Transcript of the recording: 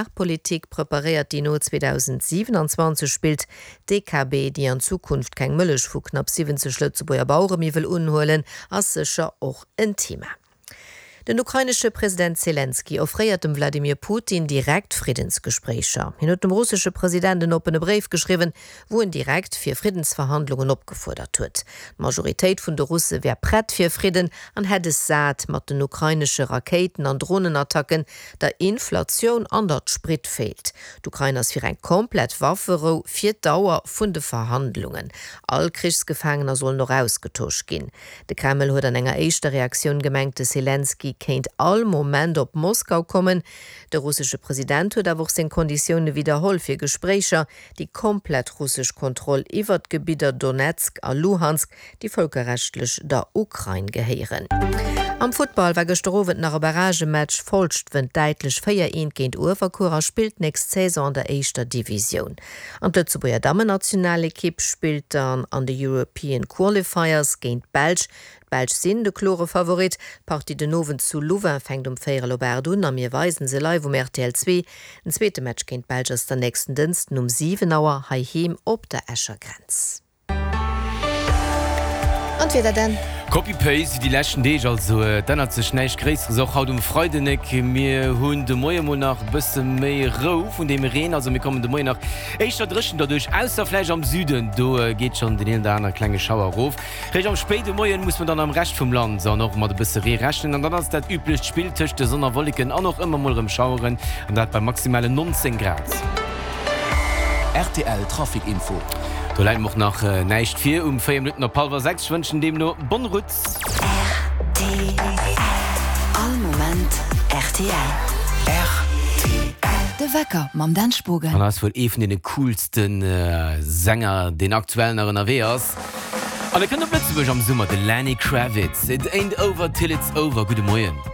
Agrarpolitik preparéiert, déi no 2027 spillt. D'DKB, déi an Zukunft keng Mëllech vu knapp 70 Lëtzebuerger Bauere méi wëll unhuelen, ass sécher och en Thema. Den ukrainesche President Selenskyj offréiert dem Wladimir Putin direkt Friddensgespréicher. Hien huet dem russesche President en oppene Bréif geschriwwen, wou en direkt fir Friddensverhandlungen opgefuerdert huet. D'Majoritéit vun de Russe wär prett fir Fridden an hätt es sat mat den ukrainesche Rakéiten an Dronenattacken, der Inflatioun an datt Sprit feelt. D'Ukrain ass fir eng komplett Wafferou fir d'Dauer vun de Verhandlungen. All Krichsgefaangener sollen och ausgetosch ginn. De Kreml huet an enger éischter Reaktioun gemengt, de Selenskyj kéint all Moment op Moskau kommen. De russesche President huet awer och seng Konditioune widderholl fir Gespréicher, déi komplett russesch Kontroll iwwer d'Gebidder Donezk a Luhansk, déi vëlkerrechtlech der Ukrain gehéieren. Am Futtball war gëschter Owend nach e Barragematch. Folscht wënnt däitlech 4, 1 géint Uewerkuer a spillt nächst Saison an der éischter Divisioun. An d'Lëtzebuerger Dammennationalekipp spillt dann an de European Qualifiers géint d'Belsch. D'Belsch sinn de klore Favorit. D'Partie den Owend zu Louvain fänkt um véierel op 8 un a mir weisen se live um rtl 2. Den zweete Match géint d'Belsch ass dann nächsten Dënsten um 7 Auer heiheem op der Escher Grenz. An d'Wieder dann? Copy Paste wéi déi leschten Deeg, also et ännert sech näischt Gréisseres och haut um Freidenek. Mir hunn de Moie mol nach e bësse méi Rou vun deem Reen, also mir kommen de Moien nach éischter dréchen derduerch, ausser vläicht am Süden, do geet schonn deen een oder aner klenge Schauer erof. Réischt am spéide Moien muss mer dann am Rescht vum Land an och mat e bësse Ree rechnen an dann ass et dat üblecht Spill tëscht de Sonn a Wolleken an och ëmmer mol erëm Schaueren an dat bei maximalen 19 Grad. Rtl Trafic Info. Do läit mer och nach näischt vir um 4 Minutten op hallwer 6. Ech wënschen deemno bonne route. Rtl, All Moment rtl. Rtl. De Wecker mam Dan Spogen. An ass wuel ee vun deene coolste Sänger, deen aktuell nach ënnerwee ass. An e kënnt op Lëtzebuerg am Summer, de Lenny Kravitz. It ain't over till it's over. Gudde Moien.